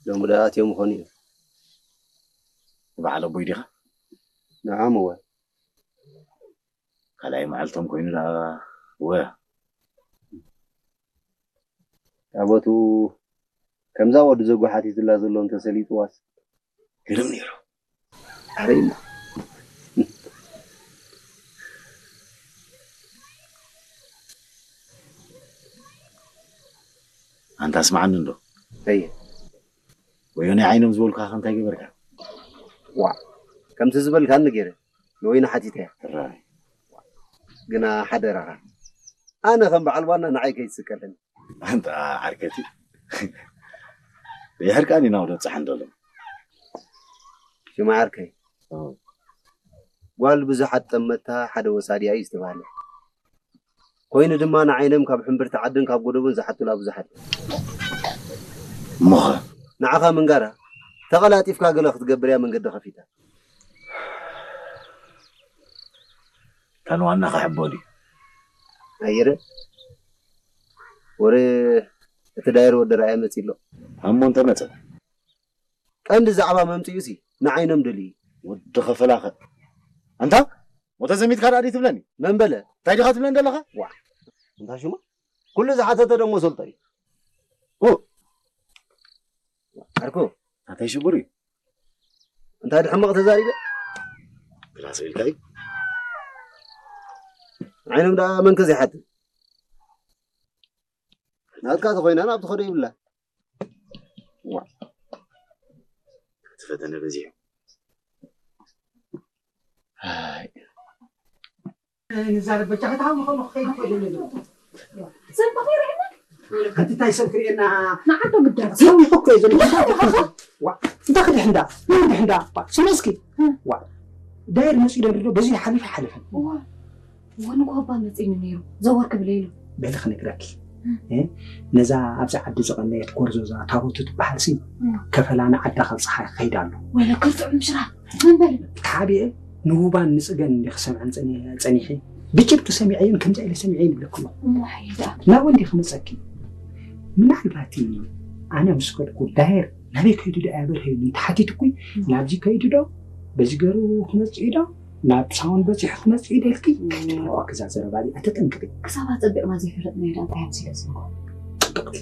ሎሚ ደኣ ኣትዮም ይኾኑ እዮም። በዓል ኣቦይ ዲኻ? ንዓም እወ። ካልኣይ መዓልቶም ኮይኑ ደኣ እወ። ታቦቱ ከምዛ ወዲ ዘጓሓቲትላ ዘሎ እንተሰሊጥዋስ። ግርም ነይሩ። ኣበይ እሞ? ኣንታ ስምዓኒ እንዶ። ኣየ። ወዮ ናይ ዓይኖም ዝበልኩኻ ከ እንታይ ገበርካ? ዋ፣ ከምቲ ዝበልካኒ ገይረ ንወይኒ ሓቲተያ። ጥራይ። ግና ሓደራኻ፣ ኣነ ከም በዓል ዋና ንዓይ ከይትስቀለኒ። ኣንታ ዓርከቲ። የሕርቃኒ ኢና ወደ ጻሕን ዘሎ። ሽማ ዓርከይ። ኦ። ጓል ብዙሓት ጠመታ ሓደ ወሳዲያ እዩ ዝተባህለ። ኮይኑ ድማ ንዓይኖም ካብ ሕምብርቲ ዓድን ካብ ጎደቦን ዝሓቱላ ብዙሓት እዮም። እሞኸ? ንዓኻ ምንጋራ፣ ተቐላጢፍካ ገለ ክትገብር እያ መንገዲ ከፊታ። እታ ንዋና ክሕቦ ድዩ? ኣየረ፣ ወረ እቲ ዳይር ወዲ ረኣየ መጺእ ኣሎ። እሞ እንተመጸ? ቀንዲ ዛዕባ መምጽኡሲ ንዓይኖም ደልዩ እዩ። ወዲ ኸፈላኸ? ኣንታ? ሞተ ዘሚትካ ደኣ ድዩ ትብለኒ? መን በለ? እንታይ ዲኻ ትብለኒ ዘለኻ? ዋ፣ እንታይ ሽሙ? ኩሉ ዝሓተተ ደሞ ሰልጦ እዩ። ኡ። ዓርኩ። እንታይ ሽጉር እዩ? እንታይ ድሕመቕ ተዛሪበ? ግላስ ኢልካ እዩ። ዓይኖም ደኣ መን ከ ዘይሓትት? ናትካ ተኾይና ናብ ትኸዶ ይብላ። ዋ። እቲ ፈተነ በዚሑ። ኣይ። ንዛረብ በጃ፣ ከታ ሃው ንኸም ንኸይድ ኮይደ ነይሩ። ሰብ በኺሩ ኢና። ሓንቲ እንታይ ሰብ ክርእየና? ንዓዶ ግዳብ። ሰብ ይኸኮ እዩ ዘሎ። ዋ፣ እንታይ ክድሕ እንዳ? ምን ክድሕ እንዳ? ዋ፣ ስለ እስኪ። ዋ፣ ዳይር መጺኡ ደንድዶ በዚ ሓሊፍ ሓሊፍ። ዋ፣ ወንጎባ መጺኒ ነይሩ። ዘወር ክብል ኢሉ። በሊ ክነግረኪ። እ? ነዛ ኣብዚ ዓዲ ዝቐነየት ጎርዞዛ ታቦቱ ትበሃል ሲ፣ ከፈላ ንዓዳ ካብ ፀሓይ ክኸይድ ኣሎ። ወይለ ክርትዑ ምሽራ። ምን በል? ተሓቢኤ ንውባን ንጽገን እንዲ ክሰምዐን ጸኒ-፣ ጸኒሐ። ብጭብጡ ሰሚዐዮን ከምዚ ኢለ ሰሚዐዮን ይብለኩ ኣለኹ። እሞ ሓይዳ። ናብኡ እንዲ ክመጸኪ። ምናልባት ኣነ ምስ ከድኩ ዳየር ናበይ ከይዱ ዶ ኣበርሀ ኢሉ እንተሓቲትኩ፣ ናብዚ ከይዱ ዶ፣ በዚ ገሩ ክመጽእ ዶ፣ ናብ ሳውን በጺሑ ክመጽእ ዶ ኢልኪ፣ ከይትብልኩ ክዛ ዘረባ እዚኣ ተጠንቀቂ። ክሳብ ኣጸቢቕና ዘይፈለጥናዮ ደኣ እንታይ ኣምሲለ ዝንጎ? ጽብቕቲ።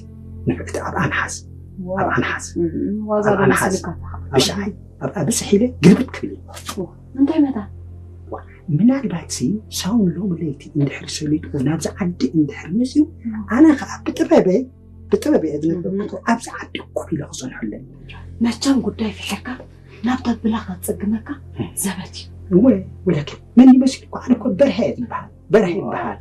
ንፍዕቲ ኣብኣ ንሓዝ። ዋው። ኣብኣ ንሓዝ። እም፣ ዋዛ ኣብኣ ዶ ንሓዝ። መሲልካ ተሓ-፣ ብሻዓይ ኣብኣ ብጽሕ ኢለ ግልብጥ ክብል እየ። ዋ፣ እንታይ መታ? ዋ፣ ምናልባት ሲ ሳውን ሎሚ ለይቲ እንድሕር ሰሊጡ ናብዚ ዓዲ እንድሕር መጺኡ፣ እም። ኣነ ኸኣ ብጥበበይ፣ ብጥበበይ እየ ዝነግረኩም፣ እም። ኣብዚ ዓዲ ኮፍ ኢለ ክጸንሐሉ ኣለኒ። መቸም ጉዳይ ፍሒርካ ናብ ተብላ ከጽግመካ እም። ዘበት እዩ። እወ፣ ወለኪ፣ መን ይመስል እኮ፣ ኣነ እኮ በርሀ እየ ዝበሃል። በርሀ ይበሃል።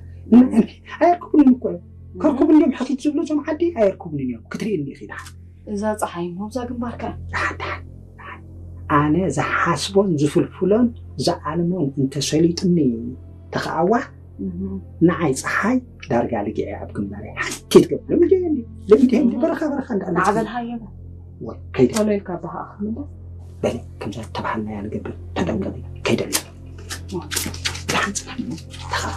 ኣየርክቡንን እኮ እዮም። ከርኩቡ እንዲዮም ሕኺት ዝብሉ እዞም ዓዲ ኣየርኩቡንን እዮም። ክትርእየኒ ኢኺ ደሓን። እዛ ፀሓይ እሞ ኣብዛ ግንባርካ። ደሓን፣ ደሓን፣ ደሓን። ኣነ ዝሓስቦን ዝፍልፍሎን ዝኣልሞን እንተሰሊጡኒ ተኸኣዋ፣ እህ። ንዓይ ፀሓይ ዳርጋ ልጊዐ ኣብ ግንባረይ ሓንቲ ትገብር። ለምንድዮ እንዲ? ለምንድዮ እንዲ? በረኻ፣ በረኻ እንዳለ ማዕበል ሃየበ። ወይ፣ ከይደ። ቶሎ ኢልካ ኣባኻ ኣኽምልስ። በሊ፣ ከምዛ ተባሃልናያ ንገብር። ተጠንቀቂ፣ ከይደለ። ደሓን ጽናሕ፣ ተኸራ።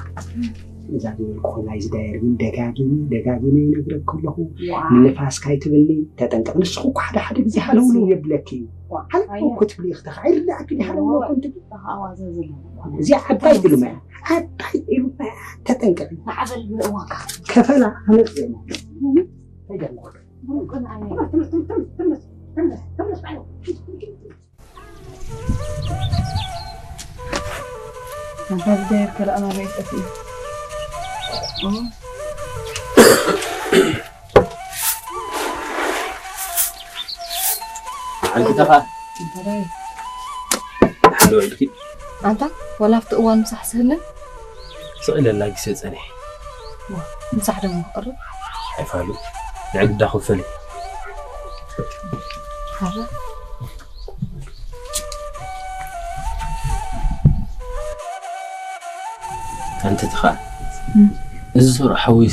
እዛ ዝበልኩ ኮይና፣ እዚ ዳየር ግን ደጋጊመ፣ ደጋጊመ ይነግረኪ ኣለኹ። ዋ። ንንፋስ ካይትብልኒ፣ ተጠንቀቂ። ንስኹ እኮ ሓደ ሓደ ግዜ ሃለውለው የብለኪ እዩ። ዋ። ሃለውለው ኣየ። እኮ ትብሊ ኢኺ፣ ተኸ-፣ ኣይርዳእኪ ድዩ ሃለውለው እዋ። እኮ እንትብሊ? ተኸ-፣ ኣዋዘ ዝብላ። እዚኣ ዓባይ ኢሉማ እያ። ዓባይ ኢሉማ እያ። ተጠንቀቂ። ማዕበል ብእዋንካ። ከፈላ ኣመጽእና። ከይደለ። ብሩቅን ኣየ። ኣንታ ዝደየር ከለኣና በይ ጠፊኡ። ዓንኪ ተኻ። እንታይ? ሓደ ውዕልኪ። ኣንታ፣ ወላ ኣብቲ እዋን ምሳሕ ስህልን? ስቕ ኢለ ኣላጊሰ ጸኒሐ። ዋ፣ ምሳሕ ደሞ ክቕርብ? ኣይፋሉ። ንዕግዳ ክፈል። ሓራ። ኣንቲ ተኻ። እም። እዚ ሱር ሓወይ